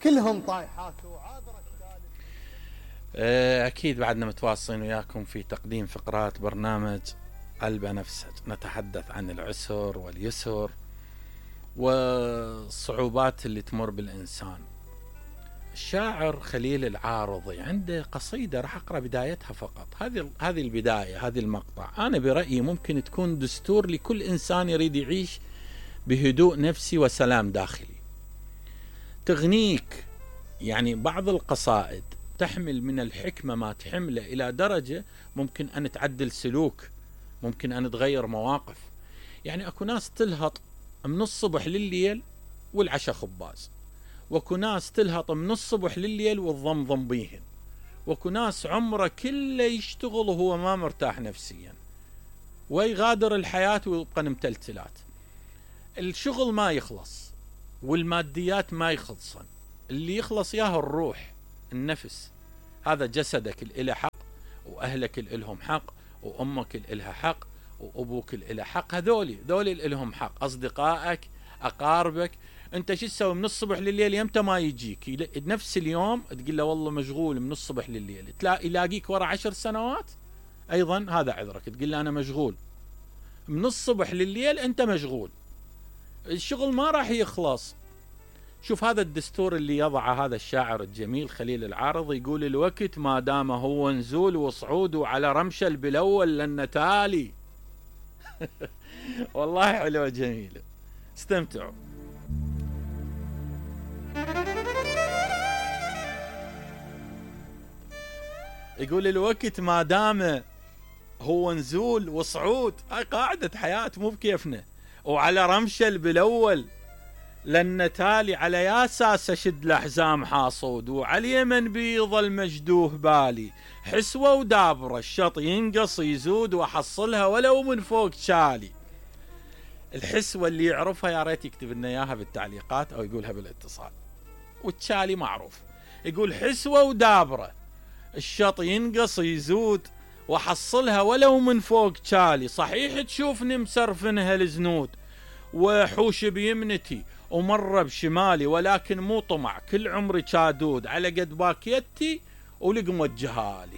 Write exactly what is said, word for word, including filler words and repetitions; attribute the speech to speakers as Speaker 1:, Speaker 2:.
Speaker 1: كلهم طايحات وعاذرك.
Speaker 2: أكيد بعدنا متواصلين وياكم في تقديم فقرات برنامج البنفسج، نتحدث عن العسر واليسر والصعوبات اللي تمر بالإنسان. الشاعر خليل العارضي عنده قصيدة راح أقرأ بدايتها فقط. هذه هذه البداية، هذه المقطع أنا برأيي ممكن تكون دستور لكل إنسان يريد يعيش بهدوء نفسي وسلام داخلي. تغنيك يعني بعض القصائد تحمل من الحكمة ما تحمله إلى درجة ممكن أن تعدل سلوك، ممكن أن تغير مواقف. يعني أكو ناس تلهط من الصبح لليل والعشاء خباز، وكو ناس تلهط من الصبح لليل والضمضم بيهن، وكو ناس عمره كله يشتغل وهو ما مرتاح نفسيا ويغادر الحياة ويبقى متلتلات. الشغل ما يخلص والماديات ما يخلصن، اللي يخلص ياه الروح النفس. هذا جسدك الإله حق، وأهلك الإلهم حق، وأمك الإلها حق، وأبوك الإله حق. هذولي ذولي الإلهم حق، أصدقائك، أقاربك. أنت شو تسوي من الصبح لليل؟ يمتى ما يجيك نفس اليوم تقول له والله مشغول من الصبح لليل، تلاقي يلاقيك ورا عشر سنوات أيضا هذا عذرك، تقول له أنا مشغول من الصبح لليل، أنت مشغول، الشغل ما راح يخلص. شوف هذا الدستور اللي يضعه هذا الشاعر الجميل خليل العارضي، يقول الوقت ما دام هو نزول وصعود وعلى رمشل بالأول لأن تالي. والله حلوة جميلة، استمتعوا. يقول الوقت ما دام هو نزول وصعود، هاي قاعدة حياة مو بكيفنا، وعلى رمشل بالأول لأن تالي، على يا اساس اشد الأحزام حاصود، وعلى اليمن بيظل مجدوه بالي، حسوة ودابرة الشط ينقص يزود واحصلها ولو من فوق شالي. الحسوة اللي يعرفها يا ريت يكتب لنا اياها بالتعليقات او يقولها بالاتصال. والتشالي معروف، يقول حسوة ودابرة الشط ينقص يزود واحصلها ولو من فوق شالي. صحيح تشوفني مسرفنها الزنود وحوش بيمنتي ومرة بشمالي، ولكن مو طمع كل عمري شادود، على قد باكيتي ولقمة جهالي.